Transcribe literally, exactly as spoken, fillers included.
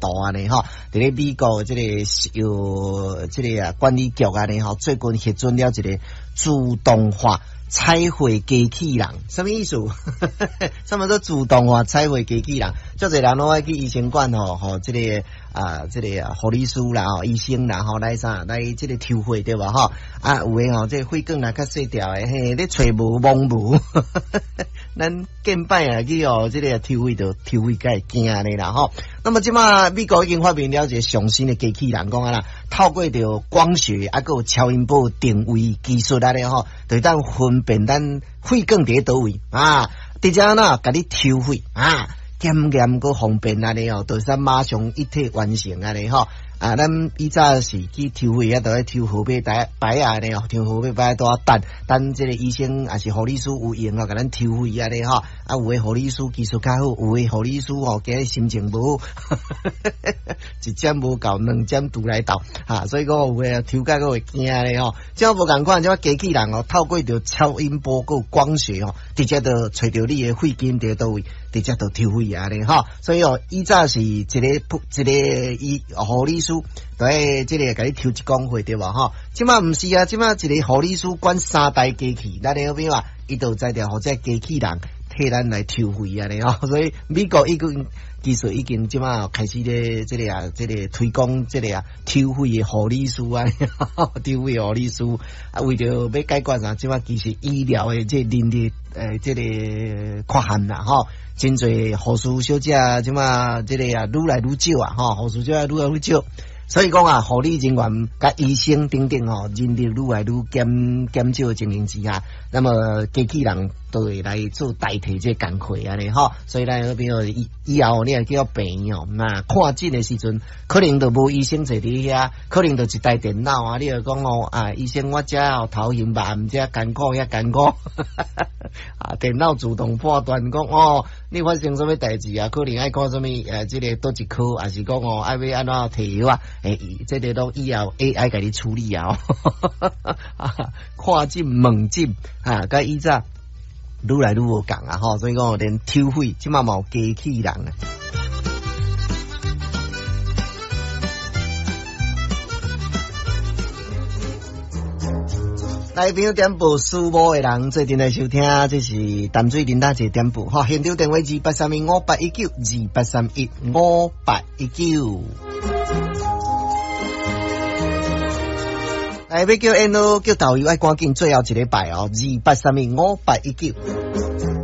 度按呢吼。佇咧美國這個藥這個啊管理局按呢吼，最近核准了一個自動化採血機器人，啥物意思？啥物叫自動化採血機器人？足濟人攏愛去醫生館吼，吼，這個啊，這個護理師啦，吼，醫生啦，吼，來啥來這個抽血對無吼？啊，有的吼，這個血管若較細條的，嘿，咧揣無摸無，咱見擺啊去哦，這個抽血就抽血才會驚咧啦吼。那麼這馬美國已經發明了一個上新的機器人，講啊啦，透過著光學啊，閣有超音波定位技術按呢吼，就會當分辨咱血管佇咧佗位啊，直接按怎共你抽血啊，檢驗閣方便按呢吼，就會使馬上一體完成按呢吼。啊，咱以早是去抽血啊，都愛抽號碼牌牌仔按呢吼，抽號碼牌拄仔等等這個醫生抑是護理師有閒哦，共咱抽血按呢吼。啊，有的護理師技術較好，有的護理師吼，今日心情無好，一針無夠，兩針拄來鬥，哈，所以講有的抽甲閣會驚咧吼。這無仝款，這機器人哦，透過著超音波閣光學哦，直接就揣著你的血管佇佗位，直接就抽血按呢吼。所以哦，以早是一個一個醫護理師。對，這個共你抽一管血對無吼？這馬毋是啊，這馬一個護理師管三台機器，咱咧好比話，伊就知著予這機器人替咱來抽血按呢吼。所以美國已經技術已經這馬開始咧，這個啊，這個推廣這個啊，抽血的護理師啊，抽血護理師啊，為著欲解決啥？這馬其實醫療的這人力呃，這個缺陷啦吼。真濟護士小姐這馬這個啊，愈來愈少啊，吼，護士小姐愈來愈少。所以講啊，護理人員佮醫生等等吼，人力愈來愈減減少的情形之下，那麼機器人都會來做代替這個工課按呢吼。所以咱好比說以以後你若去到病院哦，那看診的時陣，可能就無醫生坐佇遐，可能就一台電腦啊，你就講哦啊，醫生我這頭眩目，這艱苦遐艱苦，啊，電腦自動判斷講哦，你發生啥物代誌啊？可能愛看啥物呃，這個佗一科，抑是講哦，愛欲按怎提藥啊？欸，這個攏以後 A I 共你處理啊！看診問診啊，佮以早愈來愈無仝啊！吼，所以講連抽血這馬嘛有機器人啊。來，朋友點播蘇某的人做陣來收聽，這是淡水林大姐點播，吼，現場電話二八三一五八一九，二八三一五八一九。來，欲叫緣路叫導遊，愛趕緊最後一禮拜哦，二八三一五八一九。